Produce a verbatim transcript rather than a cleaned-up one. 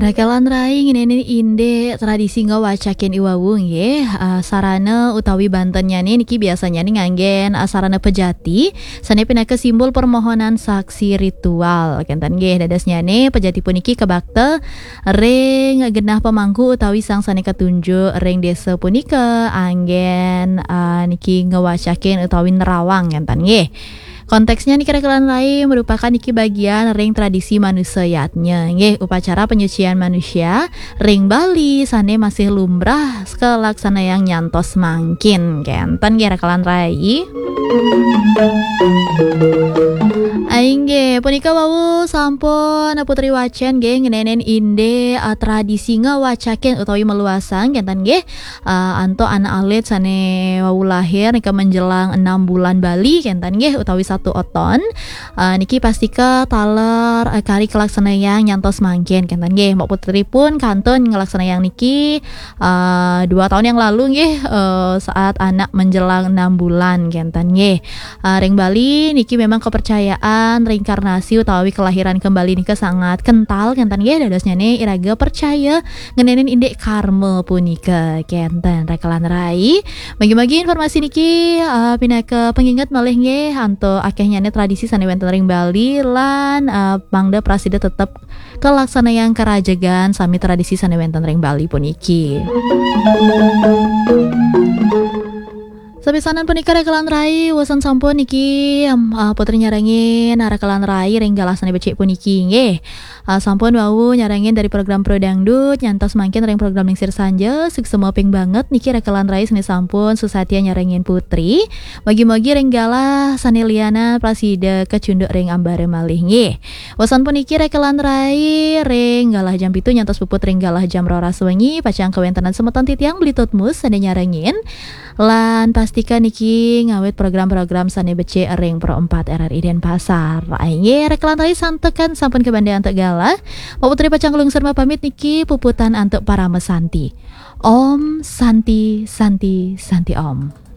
Rakalan rai, ngenénin indik tradisi ngawacakin i wau nggih, eh, sarana utawi bantennyane niki biasanyane nganggen, eh, sarana pejati, sane pinaka simbol permohonan saksi ritual. Kenten nggih, dadosnyane pejati puniki kabakta ring genah pemangku utawi sang sane katunjuk ring desa punika anggen, eh, niki ngawacakin utawi nerawang kenten nggih. Konteksnya niki rakalan rai merupakan niki bagian ring tradisi manusa yadnya, nggih, upacara penyucian manusia ring Bali sane masih lumrah kalaksanayang nyantos mangkin. Kenten nggih rakalan rai. Inggih, punika wau sampun Putri wacen nggih ngenénin indik, eh, tradisi ngawacakin utawi maluasang kenten nggih. Eh, antuk anak alit sane wau lahir nika menjelang enam bulan Bali kenten nggih utawi satu oton. Eh, niki pastika taler, eh, kari kalaksanayang nyantos mangkin kenten nggih. Mbok Putri pun kantun ngelaksanayang niki, eh, dua tahun yang lalu nggih, eh, saat anak menjelang enam bulan kenten nggih. Eh, ring Bali niki memang kepercayaan reinkarnasi utawi kelahiran kembali nika sangat kental kenten nggih, dadosnyane iraga percaya ngenénin indik karma punika kenten rakalan rai. Magi-magi informasi niki, eh, pinaka penginget malih nggih antuk akehnyane tradisi sane wenten ring Bali lan, eh, mangda prasida tetep kalaksanayang karajegan sami tradisi sane wenten ring Bali puniki. Sapisanan punika rakalan rai, wusan sampun niki, em, eh, Putri nyarengin rakalan rai ring galah sane becik puniki nggih. Ah, sampun wau nyarengin dari program Pro Dangdut, nyantos mangkin ring program Lingsir Sanja, suksma ping banget niki rakalan rai sane sampun susatya nyarengin Putri. Mugi-mugi ring galah sane lianan prasida kacunduk ring ambara malih nggih. Wusan puniki rakalan rai ring galah jam pitu nyantos puput ring galah jam roras wengi, pacang kawentenan semeton titiang Beli Tutmus sane nyarengin. Lan pastika niki ngawit program-program sane becik ring Pro empat R R I Denpasar. Inggih, rakalan rai santukan sampun kabanda antuk galah. Mbok Putri pacang nglungsur mapamit niki puputan antuk parama santi. Om Santi, Santi, Santi Om.